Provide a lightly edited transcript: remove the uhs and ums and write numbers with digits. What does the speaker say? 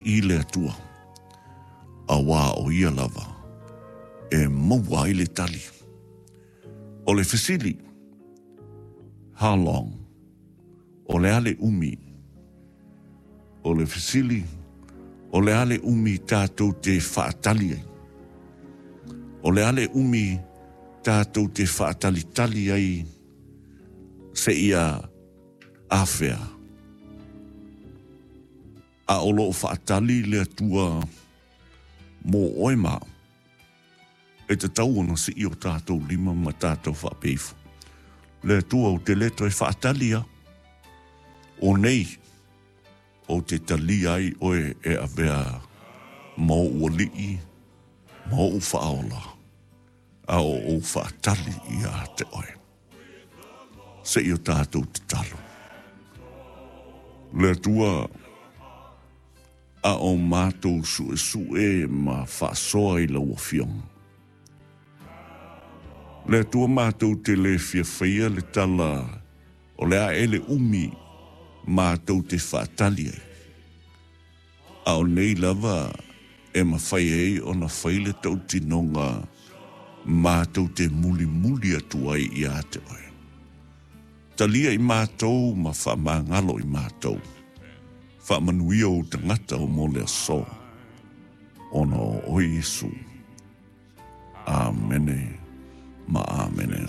I le Atua, auā o Ia lava e maua ai le tali. O le fesili, How long? O le a le umi? O le fesili, O le a le umi tātou te faatali ai? O le a le umi tātou te faatalitali ai seia afea? A o lo o faatali le Atua mō oe ma au, e tatau ona sii o tātou lima ma tātou faapea ifo, Le Atua, ou te le toe faatali a, o nei ou te talia ai oe e avea ma ou alii ma ou faaola, a o ou faatali ia te oe. Se i o tātou tatalo. Le Atua, a o mātou suesue ma faasoa i lau Afioga. Le Atua mātou te le fia faia le tala o le a e le umi mātou te faatali ai. A o nei lava e mafai ai ona fai le tautinoga mātou te mulimuli atu ai iā te oe. Talia i mātou ma faamagalo i mātou. Faamanuia ou tagata o mo le aso, ona o oe Iesu. Amene ma amene.